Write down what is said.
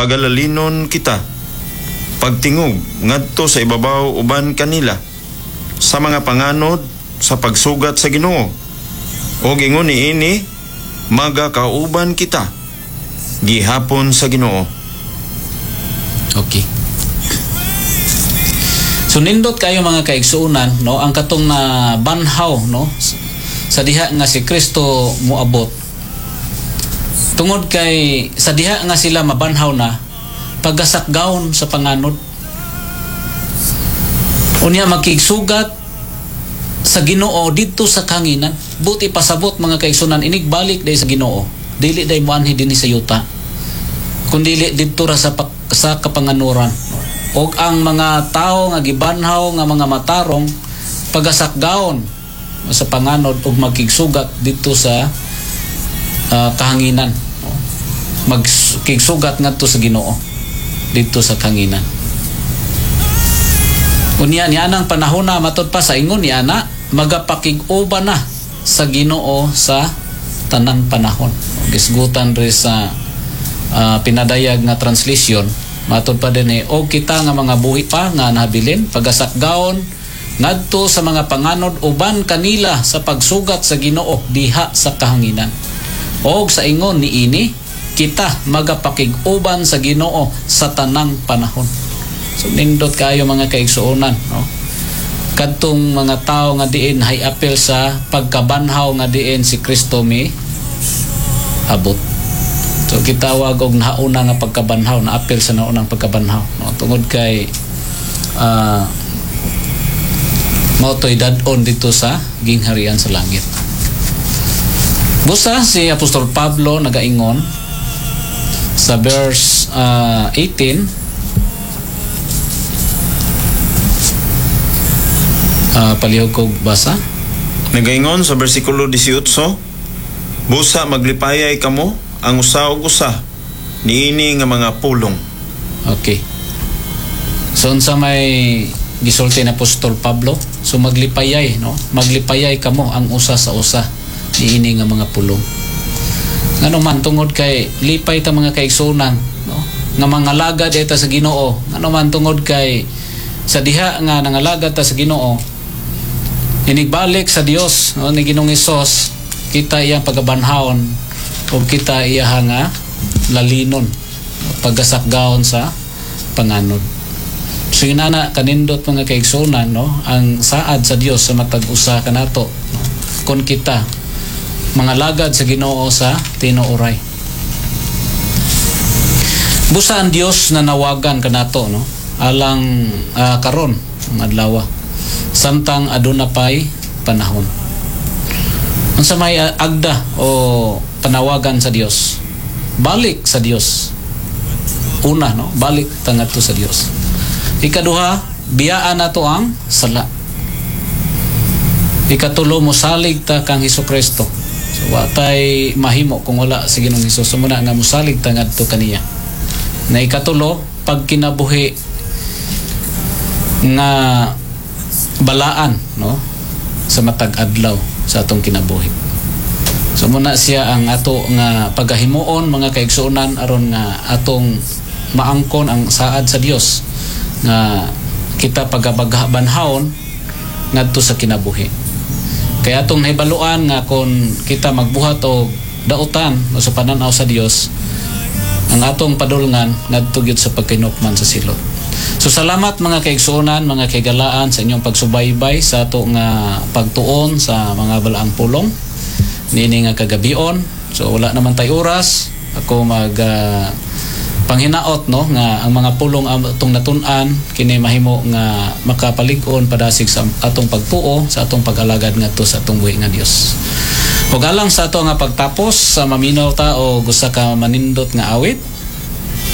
pagalalinon kita pagtingog ngadto sa ibabaw uban kanila sa mga panganod sa pagsugat sa Ginoo. Og ingon niini, magakauban kita gihapon sa Ginoo. Okay. So nindot kayo, mga kaigsuonan, no, ang katong na banhaw, no, sa diha nga si Kristo moabot. Tungod kay sa diha nga sila mabanhaw na pagasakgawon sa panganod. Unya makigsugat sa Ginoo didto sa kahanginan. Buti pasabot, mga kaigsuonan, inigbalik day sa Ginoo. Dili day moanhi dinhi sa yuta, kundi didto ra sa kapanganuran. Og ang mga tao nga gibanhaw nga mga matarong pagasakgaon sa panganod ug magkigsugat didto sa kahanginan. Magkigsugat ngadto sa Ginoo didto sa kahanginan. Unya ni anang panahon na, matud pa sa ingon ni ana, magapakig-uban na sa Ginoo sa tanang panahon. Gisgutan ri sa pinadayag nga translation, matud pa din eh, og kita nga mga buhi pa nga nahabilin pagasakgaon ngadto sa mga panganod uban kanila sa pagsugat sa Ginoo diha sa kahanginan. Og sa ingon niini, kita magapakig-uban sa Ginoo sa tanang panahon. So nindot kayo, mga kaigsuonan, no? Kadtong mga tao nga diin hay apel sa pagkabanhaw nga diin si Kristo mi abot. So gitawag og nauna nga pagkabanhaw, na apel sa naunang pagkabanhaw, no? Tungod kay mao to'y dad-on dito sa gingharian sa langit. Busa si Apostol Pablo nagaingon sa verse 18, palihog kog basa. Nagaingon sa bersikulo 18, "Busa maglipayay kamo ang usa og usa niini nga mga pulong." Okay. So unsa may gisulti ni Apostol Pablo? So maglipayay, no? Maglipayay kamo ang usa sa usa niini nga mga pulong. Ngano man, tungod kay lipay ta, mga kaigsuonan, no? Nga mangalagad ta sa Ginoo. Ngano man, tungod kay sa diha nga nangalagad ta sa Ginoo, inigbalik sa Dios, no, ni Ginoong Hesus, kita iyang pagabanhawon ug kita iya nga lalinon paggasakgaon sa panganod. So yun na kanindot, mga kaigsuonan, no, ang saad sa Dios sa matag usa kanato, no, kung kita mga lagad sa Ginoo sa tinuoray. Busa ang Dios na nawagan kanato, no, alang karon ang adlaw samtang aduna pay panahon. Unsa may agda o panawagan sa Dios? Balik sa Dios. Una, no, balik ta ngadto sa Dios. Ikaduha, biyaan nato ang sala. Ikatulo, mosalig ta kang Hesukristo. So wa tay mahimo kung wala si Ginoong Hesus. So muna nga mosalig ta ngadto kaniya. Na ikatulo, pagkinabuhi nga balaan, no, sa matag adlaw sa atong kinabuhi. So muna siya ang ato nga pagahimuon, mga kaigsuonan, aron nga atong maangkon ang saad sa Dios nga kita pagabagbanhawon ngadto sa kinabuhi. Kaya atong nahibaluan nga kung kita magbuhat og dautan o sa pananaw sa Dios, ang atong padulngan ngadto gyud sa pagkinukman sa silot. So salamat, mga kaigsuonan, mga kaigalaan, sa inyong pagsubaybay sa ato nga pagtuon sa mga balaang pulong niini nga kagabion. So wala naman tay oras. Ako mag panghinaot, no, nga ang mga pulong atong natun-an kini mahimo nga makapalig-on padasig sa atong pagtuo sa atong pag-alagad ngadto sa atong buhi nga Dios. Ug alang sa ato nga pagtapos sa maminaw ta og usa ka manindot nga awit.